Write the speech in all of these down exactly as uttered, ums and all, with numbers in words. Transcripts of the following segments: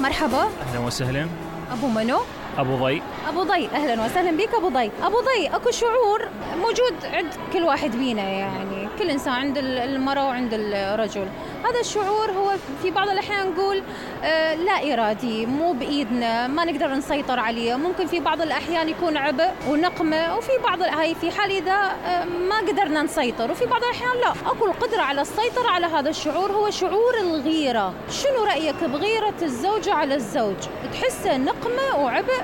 مرحبا. أهلا وسهلا. أبو منو؟ أبو ضي. أبو ضي، أهلا وسهلا بك أبو ضي. أبو ضي، أكو شعور موجود عند كل واحد بينا، يعني كل إنسان، عند المرأة وعند الرجل. هذا الشعور هو في بعض الأحيان نقول آه لا إرادي، مو بإيدنا، ما نقدر نسيطر عليه. ممكن في بعض الأحيان يكون عبء ونقمة، وفي بعض هاي في حال إذا آه ما قدرنا نسيطر، وفي بعض الأحيان لا. أكو القدرة على السيطرة على هذا الشعور، هو شعور الغيرة. شنو رأيك بغيرة الزوجة على الزوج؟ تحسه نقمة وعبء،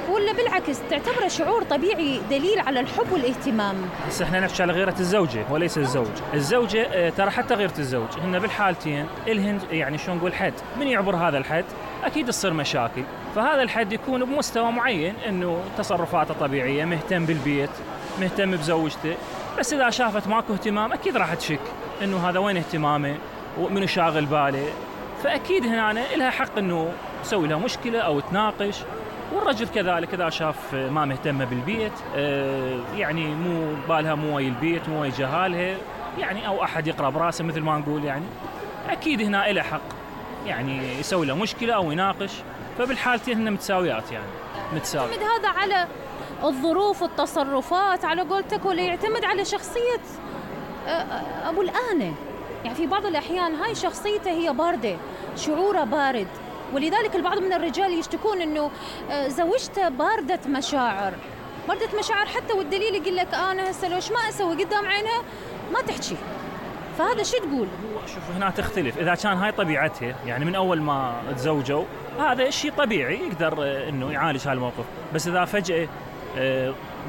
ولا بالعكس تعتبره شعور طبيعي دليل على الحب والاهتمام؟ بس احنا نحكي على غيرة الزوجة وليس الزوج. الزوجة ترى حتى غيرة الزوج هن بالحالتين الهن يعني شو نقول حد، من يعبر هذا الحد أكيد تصير مشاكل. فهذا الحد يكون بمستوى معين، إنه تصرفاته طبيعية، مهتم بالبيت، مهتم بزوجته. بس إذا شافت ماكو اهتمام أكيد راح تشك إنه هذا وين اهتمامه ومنو شاغل باله. فأكيد هنا لها حق إنه تسوي لها مشكلة أو تناقش. والرجل كذلك إذا شاف ما مهتمة بالبيت، يعني مو بالها مو ويا البيت، مو ويا جهالها، يعني أو أحد يقرأ براسه مثل ما نقول، يعني أكيد هنا إله حق يعني يسوي له مشكلة أو يناقش. فبالحالتين هن متساويات، يعني متساوي. يعتمد هذا على الظروف والتصرفات على قولتك، ولا يعتمد على شخصية أبو الآنة؟ يعني في بعض الأحيان هاي شخصيته هي باردة، شعوره بارد، ولذلك البعض من الرجال يشتكون إنه زوجته باردة مشاعر، باردة مشاعر حتى، والدليل يقول لك أنا هسه لو ما أسوي قدام عينها ما تحكي. فهذا شو تقول؟ شوف هنا تختلف. إذا كان هاي طبيعتها يعني من أول ما تزوجوا، هذا شيء طبيعي يقدر إنه يعالج هالموقف. بس إذا فجأة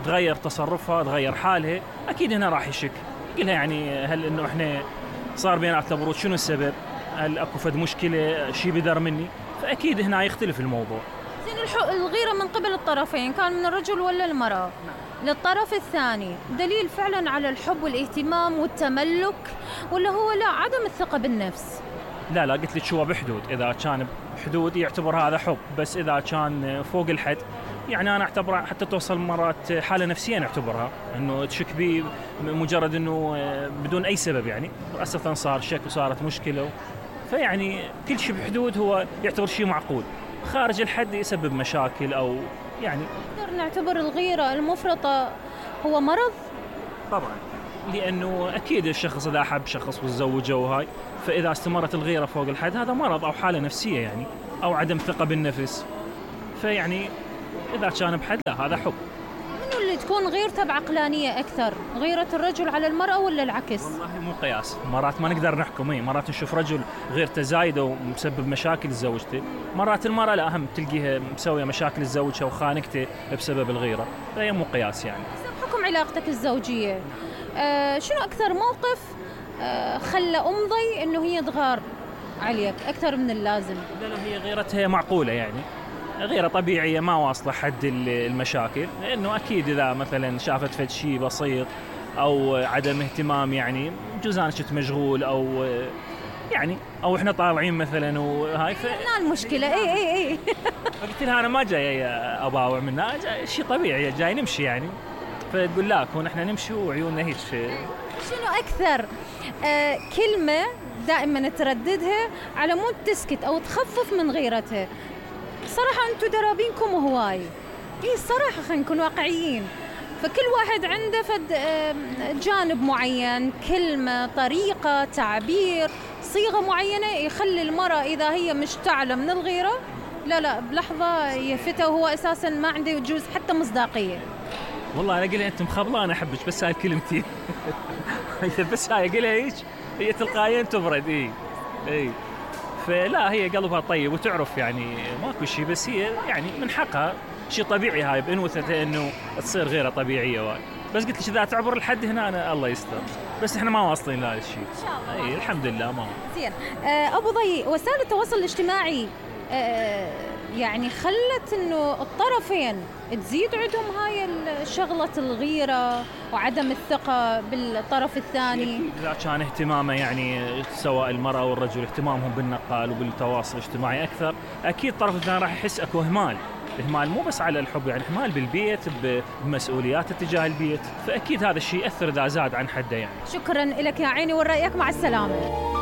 تغير تصرفها، تغير حالها، أكيد هنا راح يشك، يقولها يعني هل إنه إحنا صار بيناتنا برود، شنو السبب؟ هل أكو فد مشكلة، شيء بدر مني؟ فأكيد هنا يختلف الموضوع. زين، الغيرة من قبل الطرفين، كان من الرجل ولا المرأة، للطرف الثاني دليل فعلا على الحب والاهتمام والتملك، ولا هو لا عدم الثقة بالنفس؟ لا لا، قلت لك شو بحدود. إذا كان بحدود يعتبر هذا حب، بس إذا كان فوق الحد يعني أنا أعتبر حتى توصل مرات حالة نفسية، نعتبرها إنه تشك بي مجرد إنه بدون أي سبب، يعني أساسا صار شك وصارت مشكلة. فيعني كل شيء بحدود هو يعتبر شيء معقول، خارج الحد يسبب مشاكل أو يعني. نقدر نعتبر الغيرة المفرطة هو مرض؟ طبعا، لأنه أكيد الشخص إذا أحب شخص وتزوجه وهاي، فإذا استمرت الغيرة فوق الحد هذا مرض أو حالة نفسية يعني، أو عدم ثقة بالنفس. فيعني إذا كان بحد لا، هذا حب. منو اللي تكون غيرته بعقلانية أكثر، غيرة الرجل على المرأة ولا العكس؟ والله مو قياس، مرات ما نقدر نحكم. اي مرات نشوف رجل غيرته زايدة ومسبب مشاكل لزوجته، مرات المرأة لا، أهم تلقيها مسوية مشاكل لزوجها وخانقته بسبب الغيرة. فهي مو قياس يعني. بحكم علاقتك الزوجية، آه شنو أكثر موقف آه خلى أم ضي إنه هي تغار عليك أكثر من اللازم؟ لا لا، هي غيرتها معقولة، يعني غيرة طبيعية ما واصلة حد المشاكل. لأنه أكيد إذا مثلا شافت فد شيء بسيط أو عدم اهتمام، يعني جوز أنا شفت مشغول أو يعني أو إحنا طالعين مثلا وهاي، هنا المشكلة. إيه إيه إيه قلت لها أنا ما جاي أباوع منها، جاي شيء طبيعي، جاي نمشي يعني. فتقول لا، كون إحنا نمشي وعيوننا هيك. شنو أكثر آه كلمة دائما ترددها على مود تسكت أو تخفف من غيرتها؟ صراحة أنتوا درابينكم هواي. إيه الصراحة خلينا نكون واقعيين. فكل واحد عنده فد جانب معين، كلمة، طريقة تعبير، صيغة معينة يخلي المرأة إذا هي مشتعلة من الغيرة لا لا بلحظة يفتها، وهو أساساً ما عنده يجوز حتى مصداقية. والله أنا قلها أنت مخبلة، أنا أحبش بس هاي الكلمتين. بس هاي قلها هيك، هي تلقائيا تبرد. إيه إيه فلا، هي قلبها طيب وتعرف يعني ماكو شيء، بس هي يعني من حقها شيء طبيعي هاي بأنوثتها إنه تصير غيرة طبيعية واي. بس قلت لك إذا تعبر الحد هنا أنا الله يستر، بس إحنا ما واصلين لهذا الشيء إن شاء الله. أي الحمد لله ما. زين. أبو ضي، وسائل التواصل الاجتماعي أه يعني خلت إنه الطرفين تزيد عندهم هاي الشغلة الغيرة وعدم الثقة بالطرف الثاني. إذا كان اهتمامه يعني سواء المرأة والرجل اهتمامهم بالنقال وبالتواصل الاجتماعي أكثر، أكيد الطرف الثاني راح يحس أكو إهمال. إهمال مو بس على الحب، يعني إهمال بالبيت، بمسؤوليات اتجاه البيت. فأكيد هذا الشيء يأثر إذا زاد عن حده يعني. شكراً لك يا عيني ورأيك، مع السلامة.